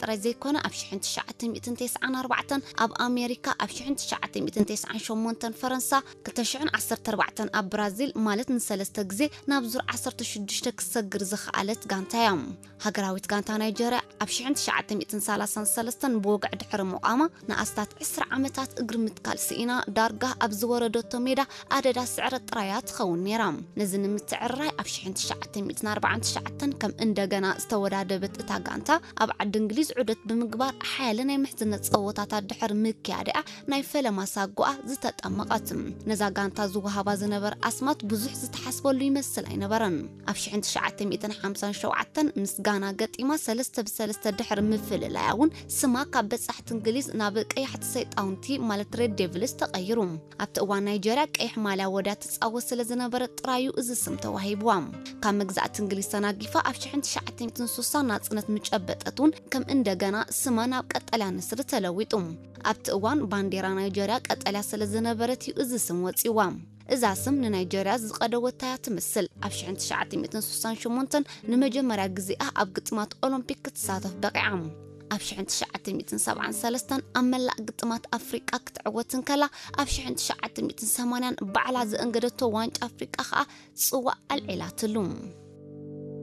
ጥራይ ዘይኮነ፣ ኣብ ሽሕን ትሽዓተ ሚእትን ተስዓን ኣርባዕተን ኣብ ኣሜሪካ፣ ኣብ ሽሕን ትሽዓተ ሚእትን ተስዓን ሸሞንተን ፈረንሳ፣ ክልተ ሽሕን ዓሰርተ ኣርባዕተን ኣብ ብራዚል፣ ማለት ንሰለስተ ግዜ ናብ ዙር ዓሰርተ ሽዱሽተ ክትሰግር ዝኸኣለት ጋንታ እያ። ሃገራዊት ጋንታ ናይጀርያ ኣብ ሽሕን ትሽዓተ ሚእትን ሰላሳን ሰለስተን ብወግዒ ድሕሪ ምቋማ ንኣስታት ዕስራ ዓመታት እግሪ ምትካል ስኢና፣ ዳርጋ ኣብ ዝወረደቶ ሜዳ ኣደዳ ስዕረት ጥራያ ትኸውን ነይራ። ነዚ ንምትዕርራይ ኣብ ሽሕን ትሽዓተ ሚእትን ኣርባዓን ትሽዓተን ከም እንደገና ዝተወዳደበት እታ ጋንታ፣ ኣብ ዓዲ እንግሊዝ ዑደት ብምግባር ሓያለ ናይ ምሕዝነት ጸወታታት ድሕሪ ምክያድኣ ናይ ፈለማ ሳጓኣ ዝተጠመቐት። ነዛ ጋንታ ዝወሃባ ዝነበረ ኣስማት ብዙሕ ዝተሓስበሉ ይመስል ኣይነበረን። ኣብ ሽሕን ትሽዓተ ሚእትን ሓምሳን ሸውዓተን ምስ ጋና ገጢማ ሰለስተ ብሰለስተ ድሕሪ ምፍልላያ እውን ስማ ካብ በጻሕቲ እንግሊዝ ናብ ቀያሕቲ ሰይጣውንቲ ማለት ሬድ ዴቪልስ ተቐይሩ። ኣብቲ እዋን ናይጀርያ ቀይሕ ማልያ ወድያ ትጻወት ስለ ዝነበረት ጥራዩ እዚ ስም ተዋሂብዋ። ካብ መግዛእቲ እንግሊዝ ተናጊፋ ኣብ ሽሕን ትሽዓተ ሚእትን ሱሳን ናጽነት ምጨበጠት እውን ከም እንደገና ስማ ናብ ቀጠልያ ንስሪ ተለዊጡ። ኣብቲ እዋን ባንዴራ ናይጀርያ ቀጠልያ ስለ ዝነበረት እዩ እዚ ስም ወጺዋ። እዛ ስም ንናይጀርያ ዝቐደወታ እያ ትመስል። ኣብ ሽሕን ትሽዓተ ሚእትን ሱሳን ሸሞንተን ንመጀመርያ ግዜኣ ኣብ ግጥማት ኦሎምፒክ ክትሳተፍ በቒዓ። ኣብ ሽሕን ትሽዓተ ሚእትን ሰብዓን ሰለስተን ኣብ መላእ ግጥማት ኣፍሪቃ ክትዕወት እንከላ፣ ኣብ ሽሕን ትሽዓተ ሚእትን ሰማንያን ባዕላ ዘእንገደቶ ዋንጫ ኣፍሪቃ ከኣ ጽዋእ ኣልዒላትሉ።